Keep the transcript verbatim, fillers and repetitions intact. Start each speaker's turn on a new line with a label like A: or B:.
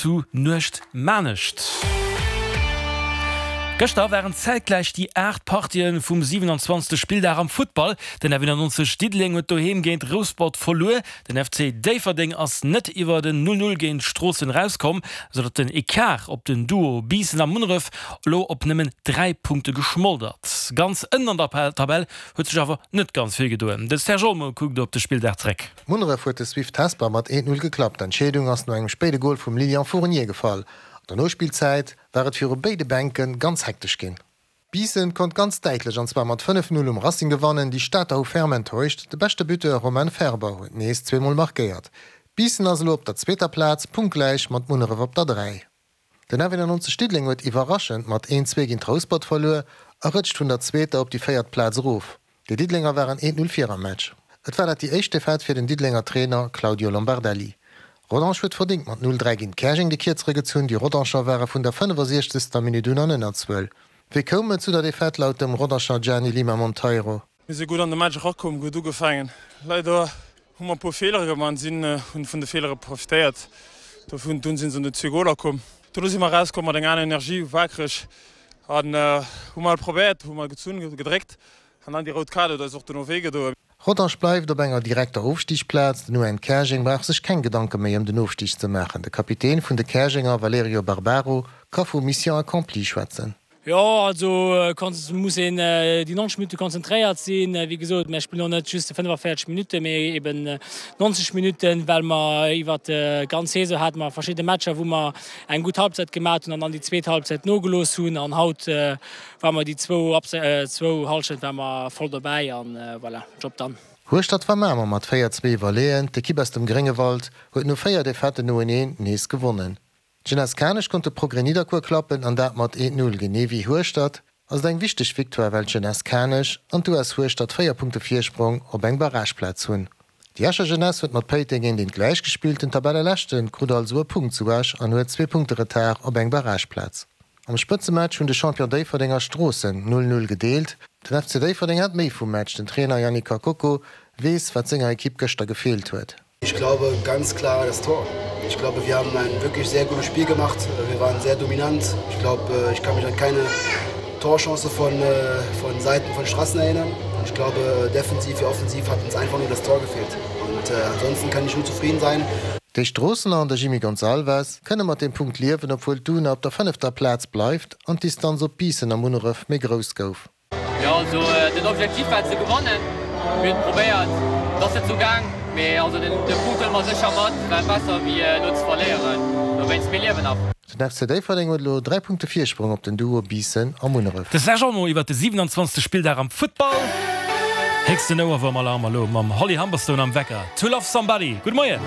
A: zu Nuechtmanescht. Gëschter waren zäitgläich déi aacht Partien vum siwenanzwanzegste Spilldag am Futtball. Den F nonzeg Diddeleng huet doheem géint Rouspert verluer. Den F C Déifferdeng ass net iwwer den null null géint Stroossen erauskomm, sou datt den Ecart op den Duo Biissen a Munneref elo op nëmmen dräi Punkte geschmolt. Ganz ënnen an der Tabell huet sech awer net ganz vill gedoen. De Serge Olmo kuckt op de Spilldag zréck.
B: Munneref huet de Swift Hesper mat eent null geklappt. D'Entscheedung ass no engem spéide Gol vum Lilian Fournier gefall. An der Nospillzäit war et viru béide Bänke ganz hektesch ginn. Biissen konnt ganz däitlech an zwar mat fënnef null um Racing gewannen, déi Stater hu ferm enttäuscht, de beschte Buteur Romain Ferber huet nees zweemol markéiert. Biissen ass elo op der zweeter Plaz, punktgläich mat Munneref op der dräi. Den F nonzeg Diddeleng huet iwwerraschend mat eent zwee géint Rouspert verluer a rëtscht vun der zweeter op déi véiert Plaz erof. Déi Diddelenger waren eent null vir am Match. Et war dat déi éischt Defaite fir den Diddelenger Trainer Claudio Lombardelli. Rodange huet verdéngt mat null dräi géint Käerjeng de Kierzere gezunn, déi Rodanger ware vun der fënnefasiechzegster Minutt un an Ënnerzuel. Wéi koum et zu der Defaite laut dem Rodanger Gianni Lima Monteiro?
C: Mir si gutt an de Match erakomm, gutt ugefaangen. Leider hu mer e puer Feelere gemaach, sinn hunn vun de Feelere profitéiert. Dovun dunn sinn se an déi zwee Goler komm. Dono si mer erauskomm mat enger aner Energie, waakreg an hu mol probéiert, hu mol gezunn, gedréckt an dann déi rout Kaart huet eis och dono wéi gedoen.
B: Rodange bleift op enger direkter Ofstigsplaz, den U N Käerjeng brauch sech keng Gedanke méi ëm den Ofstig ze maachen. De Kapitän vun de Käerjenger Valerio Barbaro ka vu Mission accomplie schwätzen.
D: Jo, also muss een déi nonzeg Minutte konzentréiert sinn. Wéi gesot, mir spillen och net just fënnefavierzeg Minutten, mee eben nonzeg Minutten, well mer iwwer d'ganz Saison hate mer verschidde Matcher, wou mer eng gutt Halbzeit gemaach hunn an dann déi zweet Halbzeit nogelooss hunn. An haut ware mer déi zwou zwou Hallschent ware mer voll dobäi an voilà, Job done.
B: Hueschtert war Mamer mat véier zwee iwwerleeën. D'Ekipp aus dem Gréngewald huet no véier Defaiten noeneen nees gewonnen. D'Jeunesse Kanech konnt de Progrès Nidderkuer klappen an dat mat eent null. Genee wéi Hueschtert ass et eng wichteg Victoire, well d'Jeunesse Kanech an d'U S Hueschtert véier Punkte Virsprong op eng Barrageplaz hunn. Déi Escher Jeunesse huet mat Péiteng eent eent gläich gespillt, den Tabelleleschte krut also e Punkt zu Esch an huet zwee Punkte Retard op eng Barrageplaz. Am Spëtzematch hunn de Champion Déifferdeng a Stroossen null null gedeelt. Den F C Déifferdeng hat méi vum Match, den Trainer Yannick Kakoko weess, wat senger Ekipp gëschter gefeelt huet.
E: Ich glaube ganz klar das Tor. Ich glaube, wir haben ein wirklich sehr gutes Spiel gemacht. Wir waren sehr dominant. Ich glaube, ich kann mich an keine Torchance von, von Seiten von Strassen erinnern. Ich glaube, defensiv wie offensiv hat uns einfach nur das Tor gefehlt. Und äh, ansonsten kann ich nur zufrieden sein.
B: Déi Stroossener an de Jimmy Gonçalves kënne mat dem Punkt liewen, obwuel d'UNA op der fënnefter Plaz bleift an d'Distanz op Biissen a Munneref méi grouss gouf.
F: Jo, also den Objektiv war ze gewannen. Mir hunn probéiert, et ass net esou gaang, mee also den de Punkt huele mer sécher mat, well besser wéi elo ze verléieren. Dowéinst, mir liewen nach.
B: Den F C Déifferdeng huet elo dräi Punkte Virsprong op den Duo Biissen a Munneref.
A: De Serge Olmo iwwer de siwenanzwanzegste Spilldag am Futtball. Héchsten Ouerwuerm-Alarm elo mam Holly Humberstone am Wecker. To Love Somebody. Gudde Moien.